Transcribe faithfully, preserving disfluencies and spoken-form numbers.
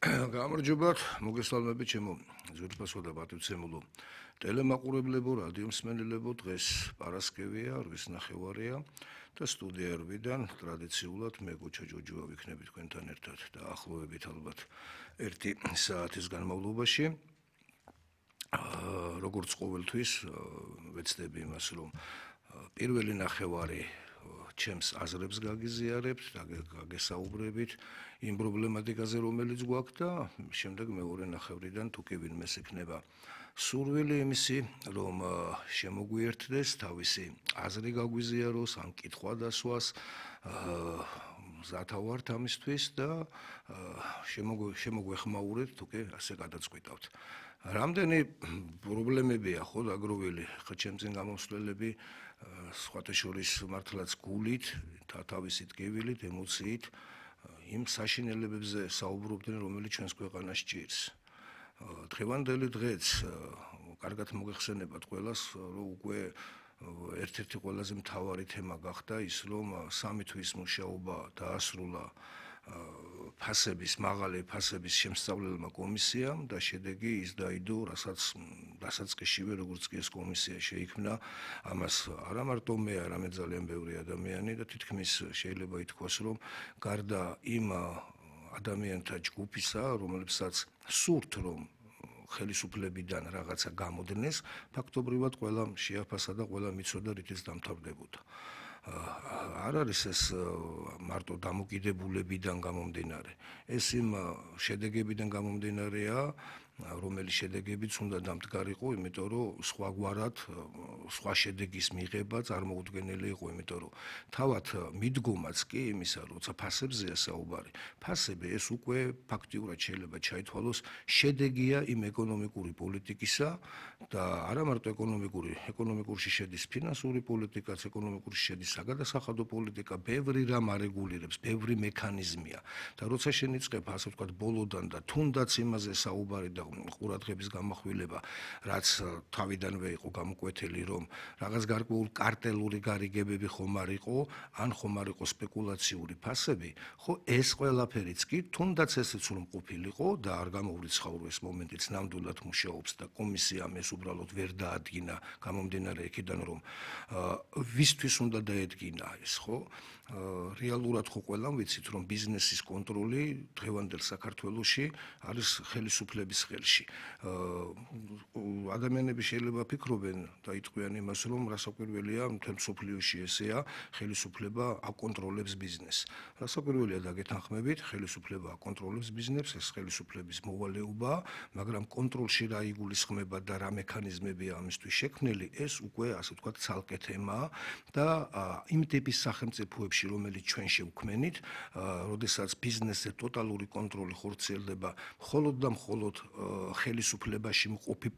გამარჯობათ, მოგესალმებით ჩემო ძვირფასო და პატივცემულო ტელემაყურებლებო, რადიომსმენელებო. დღეს პარასკევია, რვის ნახევარია და სტუდიარიდან ტრადიციულად მე გოჩა ჯოჯოა ვიქნები თქვენთან ერთად და ახლოვებით ალბათ ერთი საათის განმავლობაში. როგორც ყოველთვის ვეცდები იმას, რომ პირველი ნახევარი ჩემს აზრებს გაგიზიარებთ და გაგესაუბრებით იმ პრობლემატიკაზე, რომელიც გვაქვს და შემდეგ მეორე ნახევრიდან თუ კი ვინმეს ექნება სურვილი იმისი, რომ შემოგვიერთდეს, თავისი აზრი გაგვიზიაროს, ან კითხვა დასვას, მზათა ვართ ამისთვის და შემოგვეხმაურეთ, თუ კი ასე გადაწყვიტავთ. რამდენი პრობლემებია ხო დაგროვილი ხა ჩემს წინ გამოსვლელები, სხვათა შორის მართლაც გულით, თავისი ტკივილით, ემოციით იმ საშინელებებზე საუბრობდნენ, რომელიც ჩვენს ქვეყანას ჭირს. დღევანდელი დღეც კარგად მოგეხსენებათ ყველას, რომ უკვე ერთ-ერთი ყველაზე მთავარი თემა გახდა ის, რომ სამი თვის მუშაობა დაასრულა ფასების, მაღალი ფასების შემსწავლელმა კომისიამ და შედეგი ის დაიდო, რასაც დასაწყისშივე როგორც კი ეს კომისია შეიქმნა, ამას არა მარტო მე, არამედ ძალიან ბევრი ადამიანი და თითქმის შეიძლება ითქვას, რომ გარდა იმ ადამიანთა ჯგუფისა, რომლებსაც სურთ, რომ ხელისუფლებიდან რაღაცა გამოდნეს, ფაქტობრივად ყველა შეაფასა და ყველა მიცოდა, რითიც დამთავრდებოდა. არ არის ეს მარტო დამოკიდებულებიდან გამომდინარე. ეს იმ შედეგებიდან გამომდინარეა, რომელიც შედეგებიც უნდა დამდგარიყო, იმიტომ რომ სხვაგვარად სხვა შედეგის მიღება წარმოუდგენელი იყო, იმიტომ რომ თავად მიდგომაც კი იმისა, როცა ფასებზეა საუბარი. ფასები ეს უკვე ფაქტიურად შეიძლება ჩაითვალოს შედეგია იმ ეკონომიკური პოლიტიკისა და არა მარტო ეკონომიკური, ეკონომიკურში შედის ფინანსური პოლიტიკაც, ეკონომიკურში შედის საგადასახადო პოლიტიკა, ბევრი რამ არეგულირებს, ბევრი მექანიზმია და როცა შენიწყებ ასე ვთქვათ ბოლოდან და თუნდაც იმაზე საუბარი და ყურადღების გამახვილება, რაც თავიდანვე იყო გამოკვეთილი, რომ რაღაც გარკვეულ კარტელური გარიგებები ხომ არ იყო, ან ხომ არ იყო სპეკულაციური ფასები, ხო ეს ყველაფერიც კი თუნდაც ესეც რომ ყოფილიყო და არ გამოვრიცხავრო ეს მომენტიც ნამდვილად მუშაობს და კომისიამ ეს უბრალოდ ვერ დაადგინა, გამომდინარე იქიდან რომ ვისთვის უნდა დაედგინა ეს, ხო? რეალურად ხო ყველამ ვიცით, რომ ბიზნესის კონტროლი დღევანდელ საქართველოში არის ხელისუფლების ხელში. ადამიანები შეიძლება ფიქრობენ და იტყვიან იმას, რომ რასაკვირველია, მთელ მსოფლიოში ესეა, ხელისუფლება აკონტროლებს ბიზნესს. რასაკვირველია დაგეთანხმებით, ხელისუფლება აკონტროლებს ბიზნესს, ეს ხელისუფლების მოვალეობაა, მაგრამ კონტროლში რა იგულისხმება და რა მექანიზმებია ამისთვის შექმნილი, ეს უკვე ასე ვთქვათ ცალკე თემაა და იმ ტიპის სახელმწიფოებში, რომელიც ჩვენ შევქმნით, როდესაც ბიზნესზე ტოტალური კონტროლი ხორციელდება მხოლოდ და მხოლოდ ხელისუფლებაში მყოფი